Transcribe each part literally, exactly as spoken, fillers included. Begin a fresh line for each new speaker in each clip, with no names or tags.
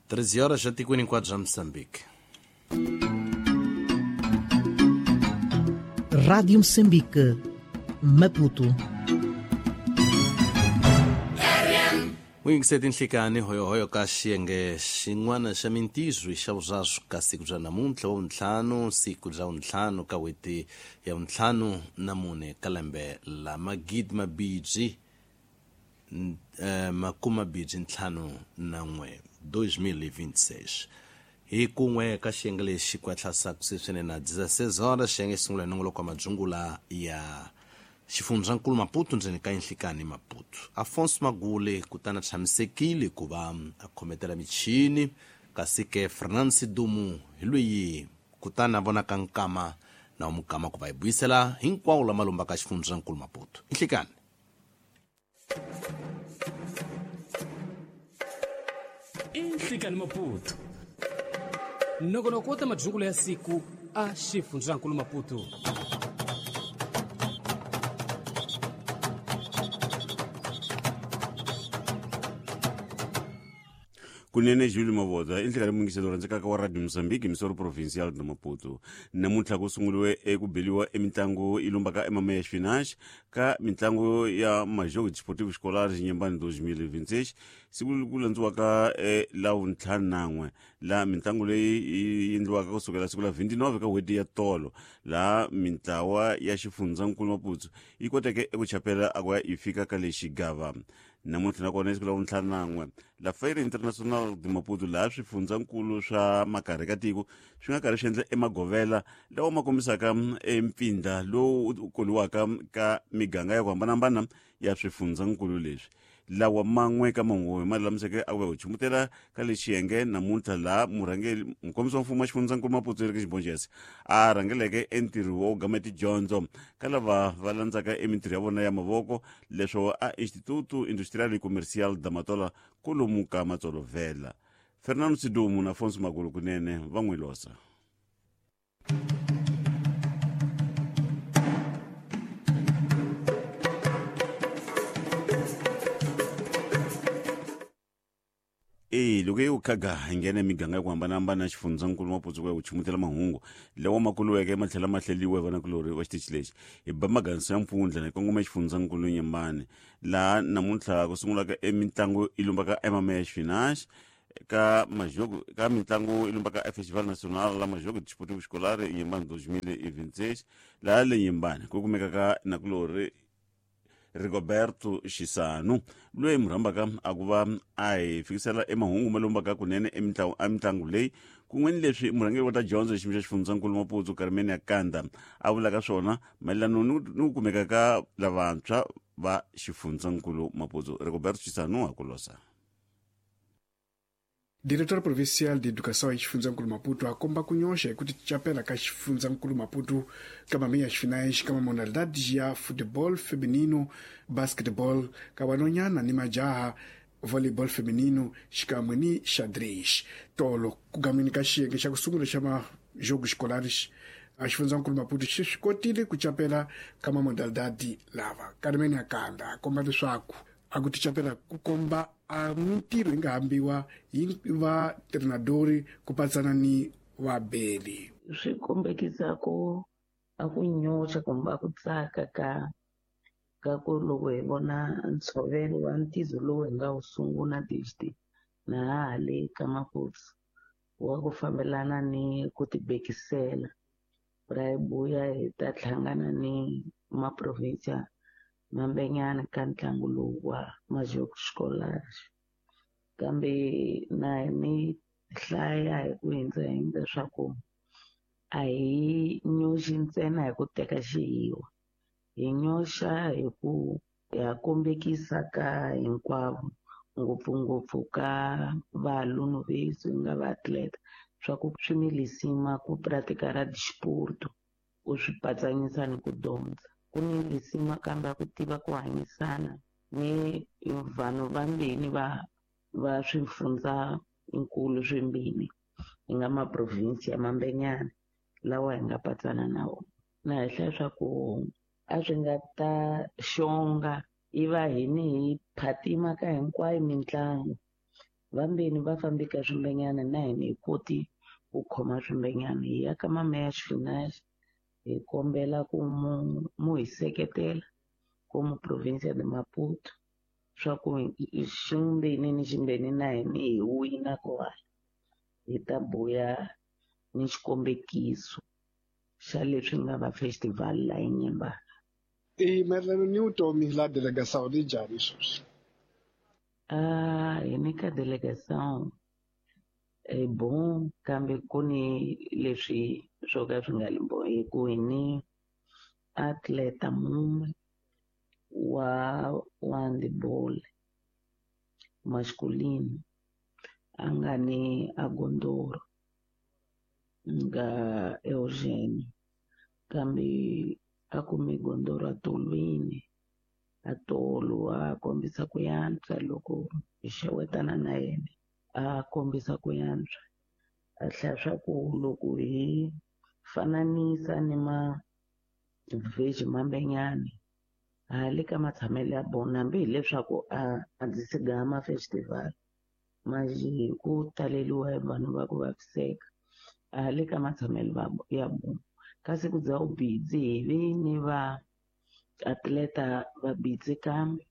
treze horas já tikweni hinkwabyo bya Moçambique.
Rádio Moçambique, Maputo.
N'wingiseti nhlikani hoyohoyo ka xiyenge xin'wana xa mintirho xa vuswaswo ka siku bya namuntlha wa vuntlhanu siku bya vuntlhanu ka n'hweti ya vuntlhanu na mune ka lembe la magidi mabidyi makume mabidyi ntlhanu na n'we dois mil e vinte e seis. Hi kun'we ka xiyenge lexi ku tlhasaka sweswinene na dezesseis horas xiyenge xi sungula hi nongoloko wa madzungula ya xifundzankulu Maputo ndzeni ka Nhlikani Maputo. Afonso Magule kutani a tshamisekile ku va a khometela michini kasi ke Fernando Sidumu hi loyi kutani a vonaka nkama na mukama ku va hi buyisela hinkwawo lama lombaka xifundzankulu Maputo. Nhlikani.
Nhlikani Maputo. Nongonoko wa ta madzungula ya siku a xifundzankulu Maputo.
Kunene Júlio Mavoda, i mungiselo rhandzekaka wa Radio Mozambique misoro provincial de Maputo. Namuntlha ku sunguriwe eku beliwa emitlangu yi lombaka emameya finais ka mitlangu ya majogo desportivo escolares Inhambane dois mil e vinte e seis, siku ku landziwaka la vuntlhanu na n'we la mitlangu leyi yi endliwaka kusukela siku la vinte e nove ka n'hweti ya tolo laha mintlawa ya xifundzankulu Maputo yi koteke eku chapela a ku ya yi fika ka le xigava. Namuntlha nakona siku la vuntlhanu na n'we la Feira Internacional de Maputo laha swifundzankulu swa makarhi ka tiko swi nga karhi swi endla emagovela lawa ma kombisaka empfindla lowu koliwaka ka miganga ya ku hambanahambana ya swifundzankulu leswi. Lawa man'we ka man'we ma lulamiseke a ku ya ku chumutela ka le xiyenge namuntlha laha murhangeri mukombisi wa mfumo wa xifundzankulu Maputo Eric Xibonjese a rhangeleke entirho wo gama tidyondzo ka lava va landzaka emintirho ya vona ya mavoko leswo a Instituto Industrial e Comercial da Matola kolomu ka Matsolovela. Fernando Sidumu na Afonso Magulu kunene va n'wi losa. E loko yi khaga hi nghena miganga ya ku hambanahambana xifundzankulu Maputo ku ya ku chumutela mahungu lawa ma kuluweke ma tlhela ma hleliwe vanakulorhi wa xitichi lexi hi ba magandziso ya mpfundla na hi kongoma xifundzankulu Inhambane laha namuntlha ku sungulaka emitlangu yi lombaka emameya finais ka majogo ka mitlangu yi lombaka Festival Nacional la Majogo Desportivo Escolar Inhambane dois mil e vinte e seis laha le Inhambane ku kumeka ka nakulorhi Rigoberto Xisanu loyi mu rhambaka a ku va a hi fikisela emahungu ma lombaka kunene emitlangu a mitlangu leyi kun'we ni leswi murhangeri wa ta dyondzo xiyimo xa xifundzankulu Maputo Carmen Yakanda a vulaka swona mayelana ni ku kumeka ka lavantshwa va xifundzankulu Maputo. Rigoberto Xisanu ha ku losa.
Diretor Provincial de Educação e Xifundzankulu Maputo akomba kunyoxa ekuti chapela ka Xifundzankulu Maputo kama meias finais kama modalidades ya futebol feminino, basquetebol, kawanonyana ni majaha, voleibol feminino, xikamwe ni xadrez. Tolo kugamini ka xiyenge xa kusungula xa majogos escolares a Xifundzankulu Maputo xi swi kotile ku chapela kama modalidade lava. Carmen Yakanda akomba leswaku a ku tichapela ku komba a mintirho yi nga hambiwa hi va treinadori ku patsana ni vabeli.
Swi kombekisa ku a ku nyoxa kumbe a ku tsaka ka ka ku loko hi vona ntshovelo wa ntizo lowu hi nga wu sungula digiti na ha le ka Maputo wa ku fambelana ni ku tibekisela ra hi buya hi ta hlangana ni maprovinsia mambenyana ka ntlangu lowu wa majogo escolares. Kambe na ni hlaya hi ku hindzahindza swa ku a hi nyoxi ntsena hi ku teka xiyiwa, hi nyoxa hi ku ya kombekisa ka hinkwavo ngopfungopfu ka valunu vesu hi nga vaatleta swa ku swi ni lisima ku pratika ra disporto u swi patsanyisa ni ku dyondza. Ku ni lisima kambe ku tiva ku hanyisana ni vanhu vambirhi va va swifundzankulu swimbirhi hi nga maprovinsi ya mambenyana lawa hi nga patsana na wona. Na hi hlaya swa ku a swi nga ta xonga i va hini hi phatima ka hinkwayo mitlangu Vambeni va fambi ka swimbenyana na hina hi koti ku khoma swimbenyana hi ya ka mameyas finais hi kombela ku mu mu hi seketela como província de Maputo swa ku ximbeni ni ximbeni na hina hi wina kwala hi ta buya ni xikombekiso xa leswi nga va festival la Inhambane.
I mayelana ni vutomi la delegação li njhani sweswi?
Ah, hi ni ka delegação é bom kambe ku ni leswi swo ka swi nga li bo hi ku hi ni atleta mumwe wa wa handball masculino a nga ni agondoro nga Eugenio kambe a kume gondoro a tolweni a tolo a kombisa ku yantswa loko hi xewetana na yena a kombisa ku yantswa a hlaya swa ku loko hi fananisa ni ma vheji mambenyani hale ka matshamelo ya bona hambi hileswaku a a ndzi se gama festival manjhe hi ku taleliwa hi vanhu va ku vaviseka hale ka matshamelo ya bona kasi ku dza u busy hi vi ni va atleta va busy kambe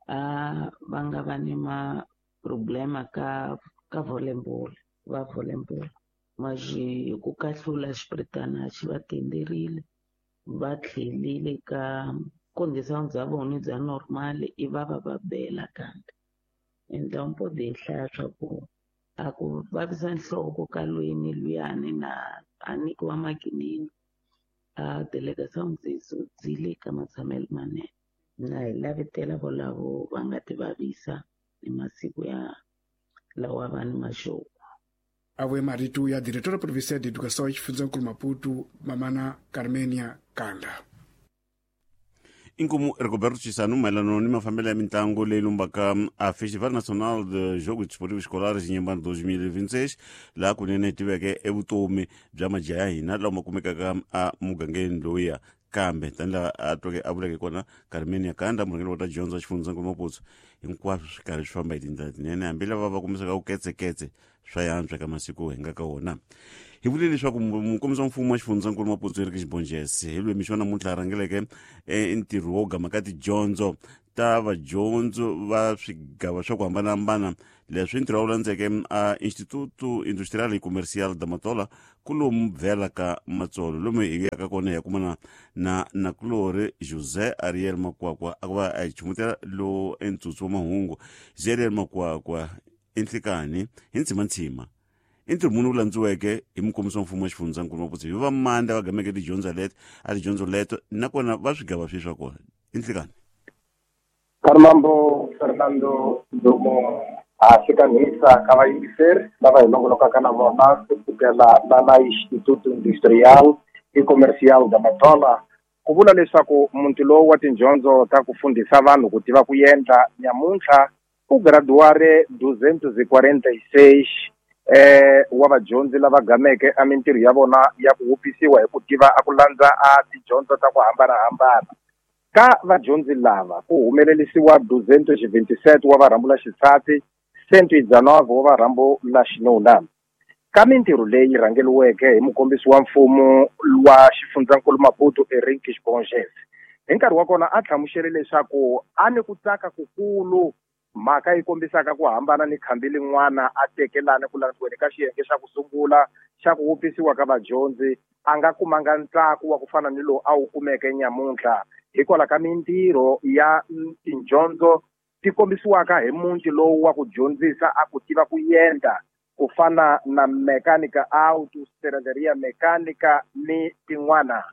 a va nga va ni ma problema ka ka volleyball va volleyball manjhe hi ku kahlula xipiritana xi va tenderile va tlhelile ka condição bya vona bya normal i va va va bela kambe então pode hlaya swa ku a ku vavisa nhloko ka lweni luyani na a nyikiwa makinini a delegação byi le ka matshamelo manene na hi lavitela volavo va nga ti vavisa hi masiku ya lawa va ni maxoku.
Ave marito ya diretora provincial de educação xifundzankulu Maputo mamana Carmenia Kanda.
Inkomu Rigoberto Chisano mayelana ni mafambelo ya mitlangu leyi lumbaka a Festival Nacional de Jogos Desportivos Escolares Inhambane dois mil e vinte e seis laha kunene tiveke evutomi bya majaha ya hina lawa ma kumekaka a mugangeni lowuya kambe tanihi a tweke a vuleke kona Carmenia Kanda murhangeri wa ta dyondzo xifundzankulu Maputo hinkwaswo swi karhi swi famba hi tindlela tinene hambi lava va kumisaka ku ketseketse swa yantswa ka masiku hi nga ka wona. Hi vule leswaku mukombisi wa mfumo wa xifundzankulu Maputo Eric Xibonjese hi loyi mixo namuntlha a rhangeleke ntirho wo gama ka tidyondzo ta vadyondzo va swigava swa ku hambanahambana leswi ntirho wu landzeke a Instituto Industrial e Comercial da Matola ku lomu bvela ka Matsolo lomu hi yaka kona hi ya kumana na nakulori José Ariel Makwakwa a ku va a hi chumutela lo entsutsu wa mahungu. José Ariel Makwakwa i nhlikani hi ntsimantsima i ntirho muni wu landziweke hi mukombisi wa mfumo wa xifundzankulu Maputo hi va mani lava gameke tidyondzo leto a tidyondzo leto nakona va swigava swi swa kona i nhlikani.
Carmambo Fernando Domo a xikanhisa ka vayingiseri lava hi longolokaka na vona ku sukela la na Instituto Industrial e Comercial da Matola ku vula leswaku muti lowu wa tidyondzo ta ku fundhisa vanhu ku tiva ku endla nyamuntlha u graduare duzentos e quarenta e seis eh wa vadyondzi lava gameke a mintirho ya vona ya ku wupisiwa hi ku tiva a ku landza a tidyondzo ta ku hambanahambana. Ka vadyondzi lava ku humelerisiwa duzentos e vinte e sete wa varhambu la xisati cento e dezenove wa varhambu la xinuna. Ka mintirho leyi rhangeriweke hi mukombisi wa mfumo wa xifundzankulu Maputo Eric Xibonjese hi nkarhi wa kona a hlamusele leswaku a ni ku tsaka kukulu mhaka yi kombisaka ku hambana ni khambi lin'wana a tekelana ku landziweni ka xiyenge xa ku sungula xa ku wupisiwa ka vadyondzi a nga kumanga ntsako wa ku fana ni lowu a wu kumeke nyamuntlha hikwalaho ka mintirho ya tidyondzo ti kombisiwaka hi muti lowu wa ku dyondzisa a ku tiva ku endla ku fana na mekanika auto serraderia mekanika ni tin'wana.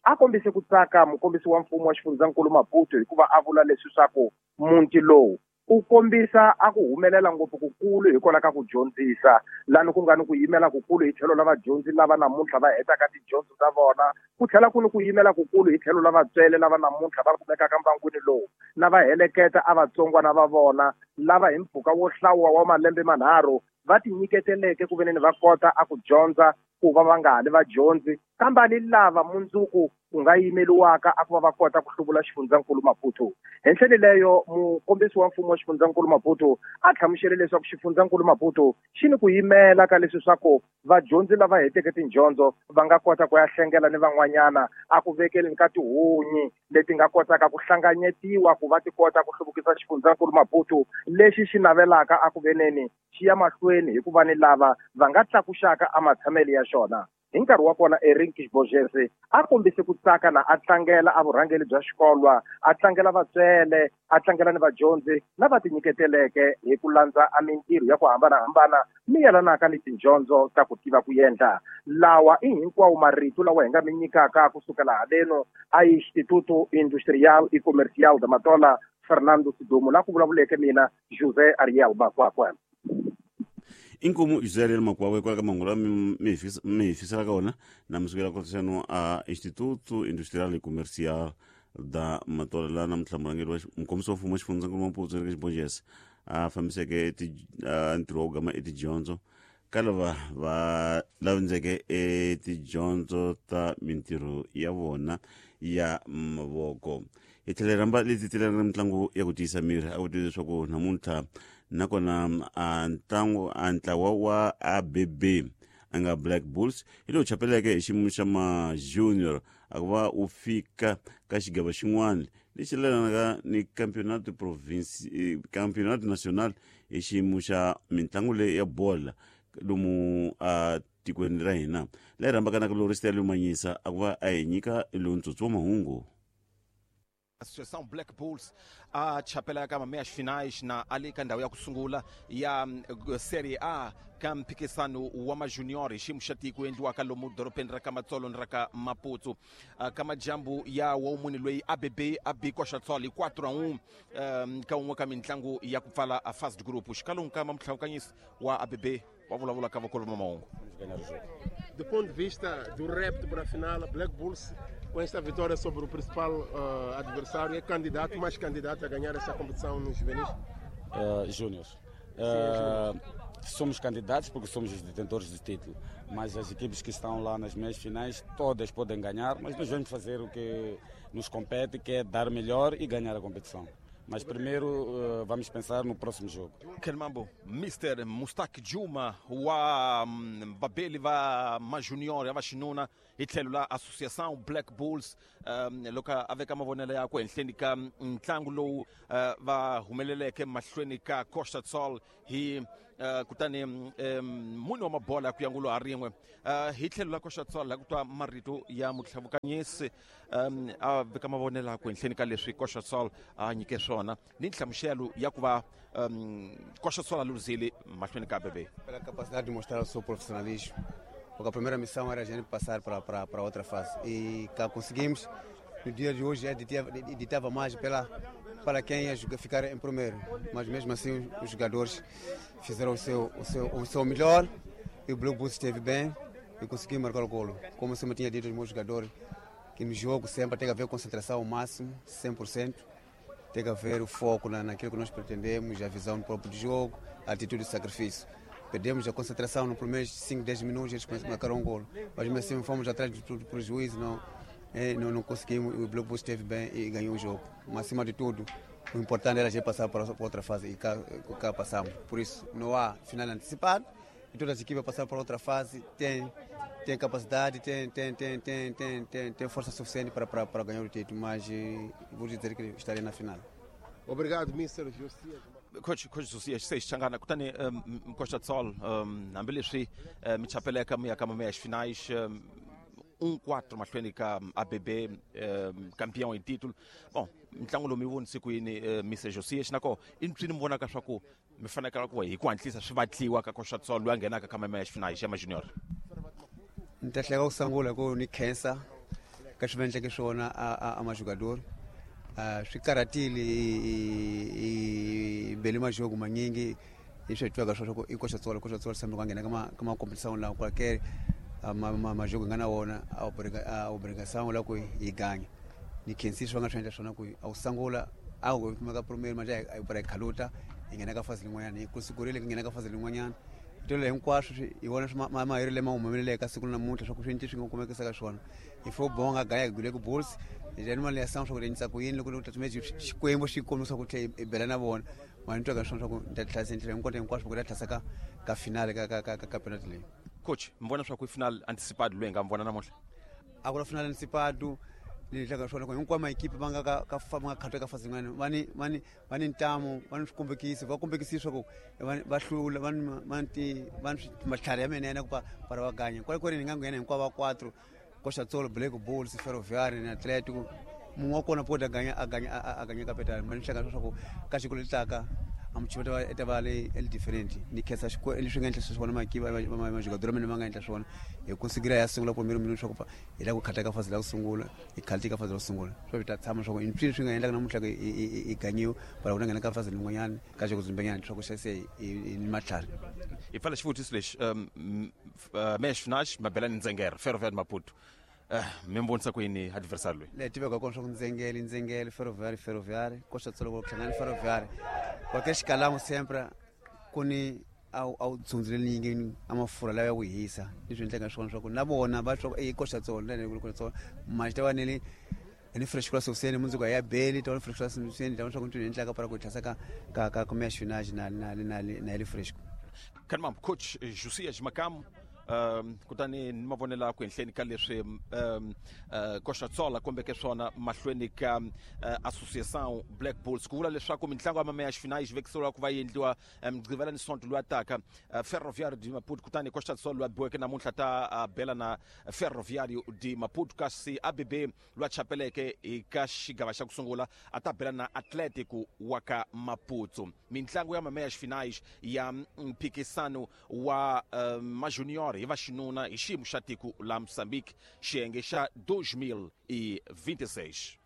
A kombise ku tsaka mukombisi wa mfumo wa xifundzankulu Maputo hikuva a vula leswi swa ku muti lowu u kombisa a ku humelela ngopfu kukulu hikwalaho ka ku dyondzisa lani ku nga ni ku yimela kukulu hi tlhelo la vadyondzi lava namuntlha va hetaka tidyondzo ta vona ku tlhela ku ni ku yimela kukulu hi tlhelo la vatswele lava namuntlha va kumekaka mbangwini lowu na va heleketa a vatsongwana va vona lava hi mpfhuka wo hlawula wa malembe manharhu va tinyiketeleke ku veneni va kota a ku dyondza ku va va nga ha li vadyondzi kambe a li lava mundzuku ku nga yimeliwaka a ku va va kota ku hluvula xifundzankulu Maputo. Henhleni leyo mukombisi wa mfumo wa xifundzankulu Maputo a hlamusele leswaku xifundzankulu Maputo xi ni ku yimela ka leswi swa ku vadyondzi lava heteke tidyondzo va nga kota ku ya hlengela ni van'wanyana a ku vekeleni ka tihunyi leti nga kotaka ku hlanganyetiwa ku va ti kota ku hluvukisa xifundzankulu Maputo lexi xi navelaka a ku veneni xi ya mahlweni hikuva ni lava va nga tlakuxaka a matshamelo ya xona. Hi nkarhi wa kona Eric Borges a kombise ku tsaka na a tlangela a vurhangeri bya xikolwa, a tlangela vatswele, a tlangela ni vadyondzi lava tinyiketeleke hi ku landza a mintirho ya ku hambanahambana mi yelanaka ni tidyondzo ta ku tiva ku endla. Lawa i hinkwawo marito lawa hi nga mi nyikaka kusukela haleno a Instituto Industrial e Comercial da Matola, Fernando Sidumo la ku vulavuleke mina José Ariel Makwakwa.
Inkomu José Ariel Makwakwa kwala ka mahungu lawa mi hi fiselaka wona na musukela kotisano a Instituto Industrial e Comercial da Matola laha namuntlha murhangeri wa mukombisi wa mfumo wa xifundzankulu Maputo Eric Borges a fambiseke ntirho wa ku gama etidyondzo ka lava va lavandzeke etidyondzo ta mintirho ya vona ya mavoko. Hi tlhela hi rhamba leti tilelaka na mitlangu ya ku tiyisa miri a ku tivi leswaku namuntlha nakona a ntlangu a ntlawa wa A B B a nga Black Bulls hi lowu chapeleke hi xiyimo xa ma-junior a ku va u fika ka xigava xin'wana lexi lelanaka ni campeonato province campeonato national hi xiyimo xa mitlangu leyi ya bola lomu a tikweni ra hina. Leyi rhambaka na ku Lorista Lumanyisa a ku va a hi nyika lowu ntsotso wa mahungu.
Associação Black Bulls a chapela ka meias finais na ali ka ndhawu ya ku sungula ya Série A ka mphikisano wa majunior hi xiyimo xa tiko endliwaka lomu dorobeni ra ka Matsolo ni ra ka Maputo. Ka majambu ya womuni loyi A B B a bi koxa tsolo hi quatro a um ka un'we ka mitlangu ya ku pfala a first group. Xikalongo ka mamutlhavukanyisi wa A B B va vulavula ka vakulu va mahungu.
Do ponto de vista do repto para a final, Black Bulls, com esta vitória sobre o principal uh, adversário, é candidato, mais candidato a ganhar essa competição nos juvenis?
Uh, Júniors. Uh, somos candidatos porque somos os detentores do título, mas as equipes que estão lá nas meias finais, todas podem ganhar, mas nós vamos fazer o que nos compete, que é dar melhor e ganhar a competição. Mas primeiro uh, vamos pensar no próximo jogo.
Kelmambo, mister Mustak Juma wa babeli va majunior ya vaxinuna hi tlhelo la Associação Black Bulls um, loko a veka mavonelo yakwe henhleni ka ntlangu lowu uh, va humeleleke mahlweni ka Costa Sol hi uh, kutani um, mune wa mabola ku yangulo ha rin'we uh, hi tlhelo la Costa Sol la ku twa marito ya mutlhavukanyisi um, a veka mavonelo yakwe henhleni ka leswi Costa Sol a nyike swona ni nhlamuselo ya ku va um, Costa Sol a luzile mahlweni ka A B B.
Pela capacidade de mostrar o seu profissionalismo, porque a primeira missão era a gente passar para, para, para outra fase e cá conseguimos. No dia de hoje editava mais pela, para quem ia jogar, ficar em primeiro, mas mesmo assim os jogadores fizeram o seu, o seu, o seu melhor e o Blue Bulls esteve bem e conseguiu marcar o golo. Como eu sempre tinha dito aos meus jogadores, que no jogo sempre tem que haver concentração ao máximo, cem por cento, tem que haver o foco na, naquilo que nós pretendemos, a visão do próprio jogo, a atitude de sacrifício. Perdemos a concentração nos primeiros cinco, dez minutos, eles marcaram um golo. Mas mesmo assim fomos atrás do prejuízo, não, não, não conseguimos, o Blue Bulls esteve bem e ganhou o jogo. Mas acima de tudo, o importante era a gente passar para outra fase e cá, cá passamos. Por isso, não há final antecipado e todas as equipes passaram para outra fase, têm, têm capacidade, têm, têm, têm, têm, têm, têm, têm força suficiente para, para, para ganhar o título, mas vou dizer que estarei na final.
Obrigado, mister Josias.
Coach coach Josias se xangana kutani um, Costa Sol um, hambileswi um, mi chapeleka mi ya ka meias finais um, um quatro mahlweni ka A B B um, campeão em título. Bom, ntlangu lowu mi vonise ku yini uh, mister Josias nako i mpsini mi vonaka swa ku mi fanekela ku hi ku hatlisa swi vatliwa ka Costa Sol loyi a nghenaka ka meias finais ya majunior.
Ni ta hleka ku sungula ku ni khensa ka swi endleke swona a a majogador. Uh, swi karhatile i bele majogo manyingi hi swi twaka swa ku i Costa Sol Costa Sol sambe ku nghena ka ma ka ma competição la qualquer majogo nga na wona a obriga a obrigação la ku hi ganha ni khensi swi nga swi endla swona ku a wu sungula a wu maka primeiro mas aí para khaluta hi nghena ka fase lin'wanyana hi kusikurile ku nghena ka fase lin'wanyana Tolo hinkwaswo hi vona swi maherile ma humeleleke siku namuntlha swa ku swi swi nga kumekisa ka swona hi fo bonga gaya Black Bulls hi mali ya sangu swa ku endlisa ku yini loko loko tatsume xikwembu xi kombisa ku tlhe i bela na vona mali ni twa ka swona swa ku ni ta tlhasa ndlela hinkwato hinkwaswo ku ta tlhasa ka ka finale ka ka ka ka penalty leyi.
Coach, mi vona swa ku final anticipado loyi hi nga mi vona namuntlha?
A ku na final anticipado ni hlaka swona ku hinkwavo maekipe va nga ka ka va nga khatha ka fasi yin'wana va ni va ni va ni ntamu va ni swikombekisi va kombekisi swa ku va hlula va ni va ni va ni matlhari ya menene ku para va ganya kwale kwale ni nga nghena hinkwavo va quatro Costa do Sol, Black Bulls, Ferroviário na Atlético munhu wa kona pota ganya a ganya a ganya capital mali hlaka swa ku ka xikolo litaka amuchivata eta va le el different ni khensa xikwembu leswi nga endla swona makiva majogador mina ma nga endla swona hi ku sigira ya sungula primero minuto swa ku hi la ku khata ka fasi la ku sungula hi khalti ka fasi la ku sungula swa vi ta tshama swa ku i swi nga endlaka namuntlha i ganyiwa para ku nghena ka fasi lin'wanyana ka xo kuzimbenyana swa ku se i ni matlhari.
Hi pfala xivutiso lexi meias finais mabelani Ndzengere Ferroviário Maputo mi vonisa ku yini adversário loyi?
Le tiveka kona swa ku Ndzengele Ndzengele Ferroviário Ferroviário Costa do Sol ku hlangana Ferroviário qualquer xikalamo sempre ku ni a wu dzundzile nyingi a mafurha lawa ya ku hisa leswi endlaka swona swa ku na vona va twa i Costa do Sol na Costa do Sol manje ta va ni ni fresh class useni mundzuku ya beli ta fresh class useni ta swa ku ntwi endlaka para ku tlhasa ka ka ka ka meias finais na na na na le fresh.
Kanmam coach Josias Makamu um kutani ni mavonelo ku henhleni ka leswi um Costa do Sol kombeke swona mahlweni ka Associação Black Bulls ku vula leswaku mintlangu ya meias finais vekiseriwa ku va endliwa Mugqivela ni Sonto loyi ataka Ferroviário de Maputo kutani Costa do Sol loyi a biweke namuntlha ta bela na Ferroviário de Maputo kasi A B B loyi a chapeleke eka xigava xa ku sungula a ta bela na Atlético wa ka Maputo. Mintlangu ya meias finais ya mphikisano wa majunior hi vaxinuna hi xiyimo xa tiko la Moçambique xiyenge xa dois mil e vinte e seis.